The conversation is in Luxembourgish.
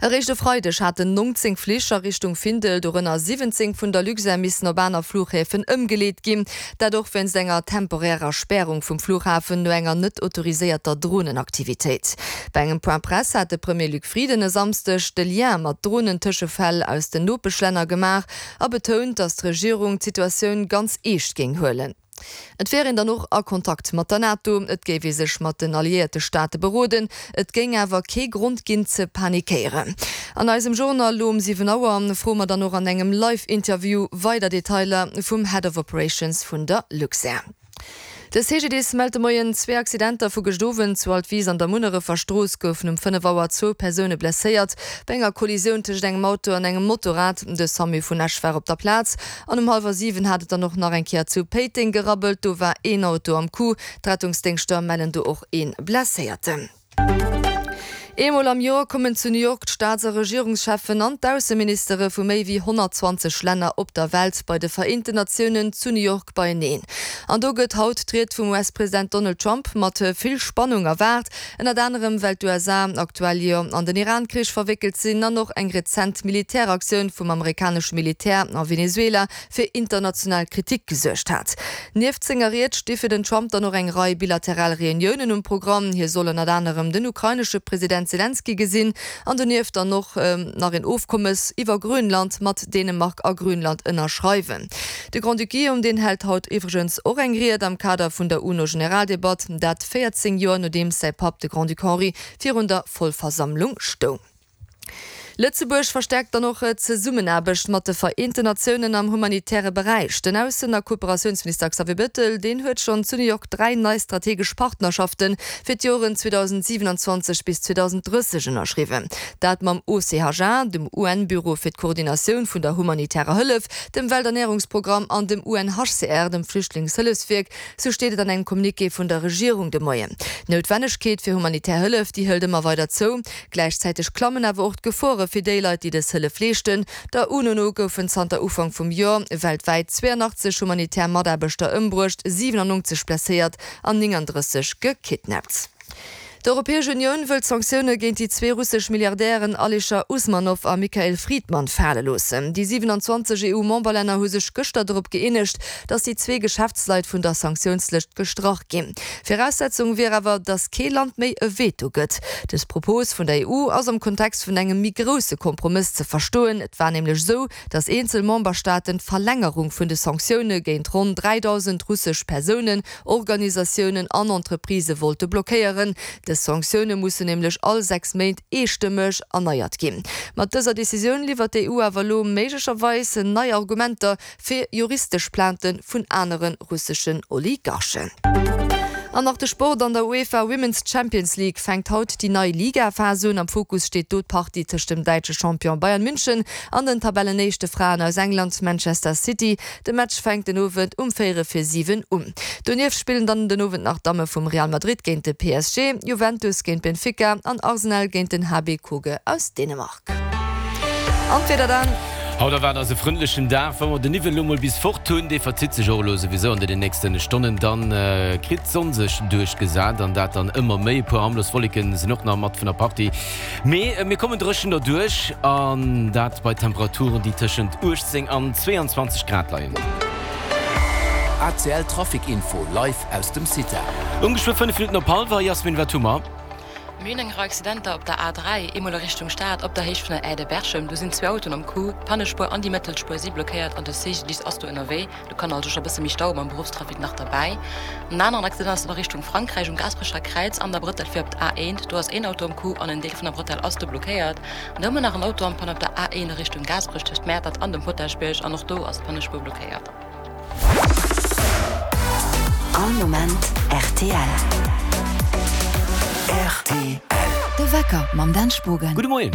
Eréischt e Freideg haten 19 Flich a Richtung Findel, dorënner 17 vun der Luxair, missen op aner Fluchhäfen ëmgeleet ginn. Dat och wéinst enger temporärer Spärung vum Fluchhafen no enger net autoriséierter Dronenaktivitéit. Bei engem Point Presse hat de Premier Luc Frieden e Samsdeg de Lien mat Dronentëschefäll aus den Nopeschlänner gemaach a betount, datt d'Regierung d'Situatioun ganz eescht géing huelen. Et wär een dann och a Kontakt mat der NATO, et géif ee sech mat den alliéierte Staate beroden, et géing awer kee Grond ginn ze panikéieren. An eisem Journal lo um 7 Auer froe mer dann och an engem Live-Interview weider Detailer vum Head of Operations vun der Luxair. De CGDIS mellt de Moien zwee Accidenter vu gëscht Owend. Zu Altwis an der Munnerefer Strooss goufen um 5 Auer zwou Persoune blesséiert bei enger Kollisioun tëscht engem Auto an engem Motorrad. De Samu vun Esch war op der Plaz. An um hallwer 7 hat et dann och nach eng Kéier zu Péiteng gerabbelt. Do war een Auto am Coup. D'Rettungsdéngschter mellen do och ee Blesséierten. Eemol am Joer kommen zu New York d'Staats a Regierungscheffen an d'Ausseministere vu méi wéi 120 Länner op der Welt bei de Vereenten Natiounen zu New York beieneen. An do gëtt haut d'Ried vum US-President Donald Trump mat vill Spannung erwaart. Ënnert anerem well d'USA aktuell jo an den Iran-Krich verwéckelt sinn an och eng rezent Militäraktioun vum amerikanesche Militär a Venezuela fir international Kritik gesuergt hat. Nieft senger Ried sti fir den Trump dann och eng Rei bilateral Reuniounen um Programm. Hie soll ënnert anerem den ukrainesche President Selenskyj gesinn an donieft dann och nach een Ofkommes iwwer Grönland mat Dänemark a Grönland ënnerschreiwen. De Grand-Duc Guillaume, deen hält haut iwwregens och eng Ried am Kader vun der UNO-Generaldebatt, dat 14 Joer nodeems säi Papp, de Grand-Duc Henri, virun der Vollversammlung stoung. Lëtzebuerg verstäerkt dann och d'Zesummenaarbecht mat de Vereenten Natiounen am humanitäre Beräich. Den Aussen a Kooperatiounsminister Xavier Bettel, deen huet schonn zu New York 3 nei strategesch Partnerschafte fir d'Joren 2027 bis 2030 ënnerschriwwen. Dat mam OCHA, dem UN-Büro fir d'Koordinatioun vun der humanitärer Hëllef, dem Welternärungsprogramm an dem UNHCR, dem Flüchtlingshëllefswierk, Sou steet et an engem Communiqué vun der Regierung de Moien. D'Noutwennegkeet fir humanitär Hëllef, déi hëlt ëmmer weider zou. Gläichzäiteg klammen awer och d'Gefore fir déi Leit, déi dës Hëllef leeschten. Der UNO no goufen zanter Ufank vum Joer weltwäit 82 humanitär Mataarbechter ëmbruecht, 97 blesséiert an 39 gekidnappt. D'Europäesch Unioun wëllt d'Sanktioune géint déi zwee russesch Milliardären Alischer Usmanow a Mikhail Fridman fale loossen. Déi 27 EU-Memberlänner hu sech gëschter dorop gëeenegt, datt déi zwee Geschäftsleit vun der Sanktiounslëscht gestrach ginn. Viraussetzung wier awer, datt kee Land méi e Veto gëtt. Dës Propos vun der EU ass am Kontext vun engem méi grousse Kompromëss ze verstoen. Et war nämlech esou, datt eenzel Memberstaaten d'Verlängerung vun de Sanktioune géint ronn 3.000 russesch Persounen Organisatiounen an Entreprisë wollte blockéieren. Dës Sanktioune mussen nämlech all 6 Méint eestëmmeg erneiert ginn. Mat dëser Decisioun liwwert d'EU awer elo méiglecherweis nei Argumenter fir juristesch Plainte vun anere russeschen Oligarchen. An nach de Sport, An der UEFA Women's Champions League fänkt haut déi nei Ligaphas un. Am Fokus steet do d'Partie tëscht dem däitsche Champion Bayern München an den Tabellenéischte Fraen aus England, Manchester City. De Match fänkt den Owend um véierel vir 7 un. Donieft spillen dann den Owend nach d'Damme vum Real Madrid géint de PSG, Juventus géint Benfica an Arsenal géint den HB Køge aus Dänemark. An d'Wieder dann. Haut erwaart eis e frëndlechen Dag. Wa mer de Niwwel elo mol bis fort hunn, dee verzitt sech och elo souwisou an den nächste Stonnen, dann kritt d'Sonn sech duerchgesat an dat dann ëmmer méi. E puer harmlos Wolleke sinn och nach mat vun der Partie. Mee mir kommen dréchen derduerch, an dat bei Temperaturen, déi tëschent 18 an 22 Grad leien. ACL Trafic Info live aus dem CITA. Um geschwë 5 Minutten op hallwer. Jasmin, wat hu mer? Mir hunn eng Rei Accidenter op der A3, eemol a Richtung Stad op der Héicht vun der Aire de Berchem. Do sinn zwee Autoen am Coup. D'Pannespuer an déi Mëttelspuer si blockéiert an de CGDIS ass do ënnerwee. Do kann also scho bësse méi Stau mam Beruffstrafic nach derbäi. En aneren Accident ass an Richtung Frankräich um Gaasperecher Kräiz an der Brëttel fir op d'A1. Do ass een Auto am Coup an en Deel vun der Brëttel ass do blockéiert. An da hu mer nach en Auto am Panne op der A1 a Richtung Gaasperech tëscht Mäertert an dem Potaschbierg an och do ass d'Pannespuer blockéiert. All Moment rtl. Rtl. De Wecker mam Dan Spogen. Gudde Moien.